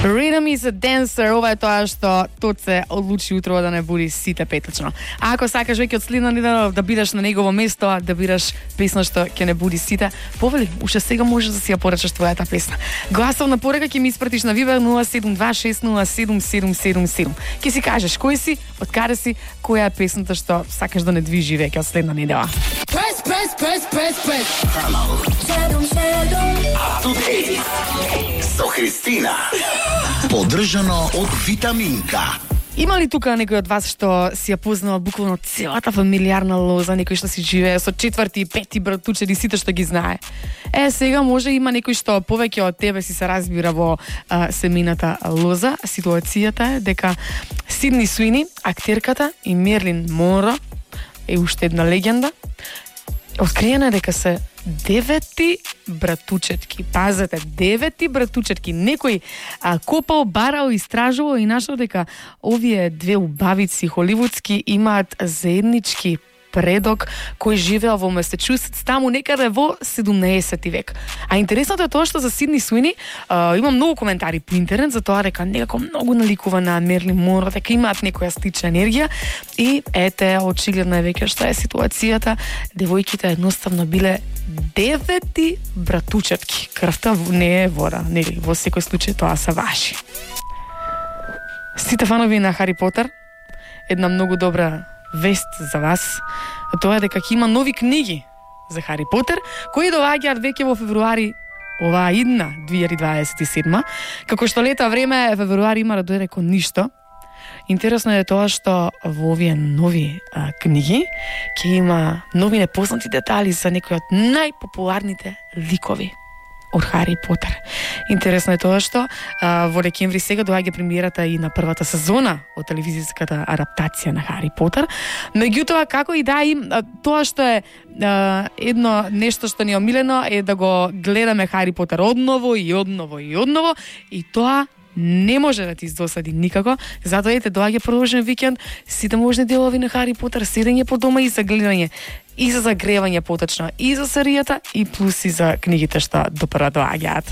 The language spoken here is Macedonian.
Rhythm is a dancer, ова е тоа што Тоце одлучи утрово да не буди сите петачно. А ако сакаш веќе од следна недела да бидеш на негово место, да бидеш песна што ќе не буди сите, повели, уште сега можеш да си ја порачаш твојата песна. Гласовна порака ќе ми испратиш на Viber 072607777. Ќе си кажеш кој си, од каде си, која е песната што сакаш да не движи веќе од следна недела. Press. Up to date со Христина. Поддржано од Витаминка. Има ли тука некој од вас што си ја познава буквално целата фамилиарна лоза, некој што си живее со четврти и пети братучеди, сите што ги знае? Сега може има некој што повеќе од тебе си се разбира во семејната лоза. Ситуацијата е дека Сидни Суини, актерката, и Мерлин Монро е уште една легенда. Откриена е дека се 9 братучетки. Пазете, 9 братучетки. Некој копал, барал, истражувал и нашол дека овие две убавици холивудски имаат заеднички предок кој живеел во Масачусетс, таму некаде во 17 век. А интересното е тоа што за Сидни Суини има многу коментари по интернет за тоа дека некако многу наликува на Мерлин Монро, дека имаат некоја слична енергија и ете, очигледно е веќе што е ситуацијата. Девојките едноставно биле 9 братучетки. Крвта не е вода, нели, во секој случај тоа се важи. Сите фанови на Хари Потер, една многу добра вест за вас, тоа е дека ќе има нови книги за Хари Потер, кои доаѓаат веќе во февруари оваа идна 2027. Како што лета време, февруари има да дојде кон ништо. Интересно е тоа што во овие нови книги ќе има нови непознати детали за некои од најпопуларните ликови од Хари Потер. Интересно е тоа што во декември сега доаѓа премиерата и на првата сезона од телевизиската адаптација на Хари Потер. Меѓутоа, како и да тоа што е едно нешто што ни е омилено е да го гледаме Хари Потер одново и тоа не може да ти издосади никако, затоа ете доаѓа продолжен викенд, сите можни делови на Хари Потер, седење по дома и за гледање, и за загревање поточно, и за серијата, и плюс и за книгите што допрва доаѓаат.